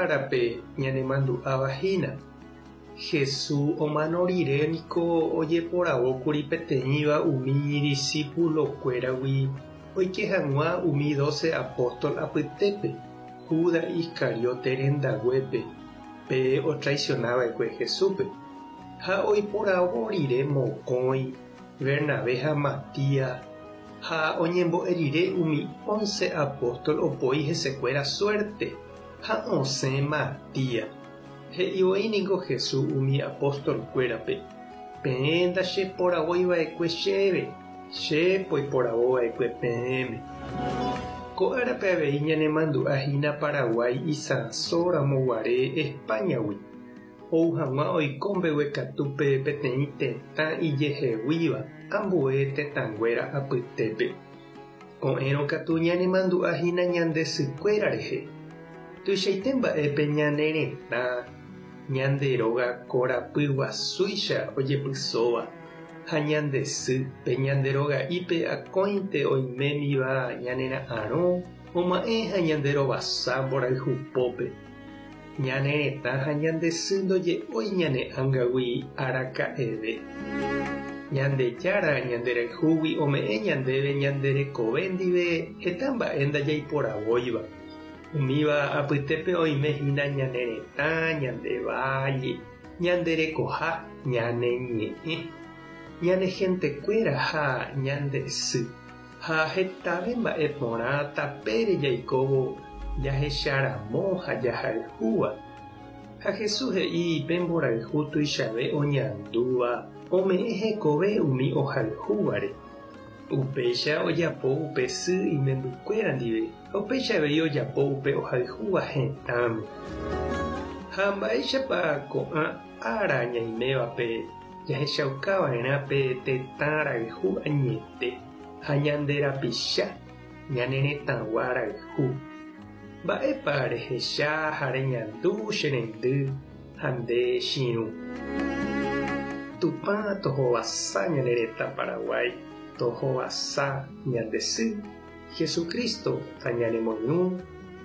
árape ñanemandu'áva hína. Jesús omano rire niko ojeporavókuri peteĩva umi idisípulokuéragui oike hag̃ua umi dóse apóstol apytépe, Judas Iscariote rendaguépe, pe otraisionava'ekue Jesúspe. Ha oiporavo rire mokõi, Bernabé ha Matías, ha oñembo'e rire umi ónse apóstol opoi hesekuéra suérte, ha osẽ Matías. He'i voi ningo Jesús umi apóstol-kuérape, Peẽ ndacheporavói va'ekue chéve, che poiporavo va'ekue peẽme. Ko árape avei ñanemandu'a hína Paraguái isãso ramo guare España-gui, ou hag̃ua oiko mbeguekatúpe peteĩ tetã ijeheguíva ambue tetãnguéra apytépe. Ko'ẽrõ katu ñanemandu'a hína ñande sykuéra rehe. Tuichaite mba'épe ñane retã, ñande róga korapy guasúicha ojepysóva, ha ñande sy pe ñande roga'ípe akóinte oimémiva ñanera'arõ, oma'ẽ ha ñande rovasa mborayhupópe. Ñane retã ha ñande sy ndoje'ói ñane ángagui araka'eve. Ñandejára ñanderayhúgui ome'ẽ ñandéve ñande rekove ndive heta mba'e ndajaiporavóiva. Umíva apytépe oime hína ñane retã, ñande valle, ñande rekoha, ñane ñe'ẽ, ñane hentekuéra ha ñande sy. Ha hetave mba'e porã tapére jaikóvo jahecharamo ha jahayhúva. Ha Jesús he'i pe mborayhu tuichave oñandúva ome'ẽ hekove umi ohayhúvare. Upéicha ojapo upe sy imembykuéra ndive ha upéicha avei ojapo upe ohayhúva hetãme. Ha mba'éichapa ko'ã ára ñaimévape jahechaukava'erã pe tetã rayhu añete ha ñande rapicha ñane retãgua rayhu. Mba'épa rehecha ha reñandu che rendy ha nde chirũ. Tupã tohovasa ñane retã Paraguái, tohovasa ñande sy, Jesucristo tañanemoirũ,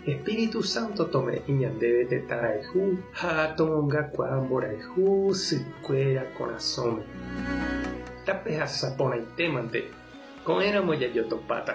Espíritu Santo tome'ẽ ñandéve tetã rayhu ha tomongakuaa mborayhu sykuéra korasõme. Tapehasa porãitémante, ko'ẽramo jajotopáta.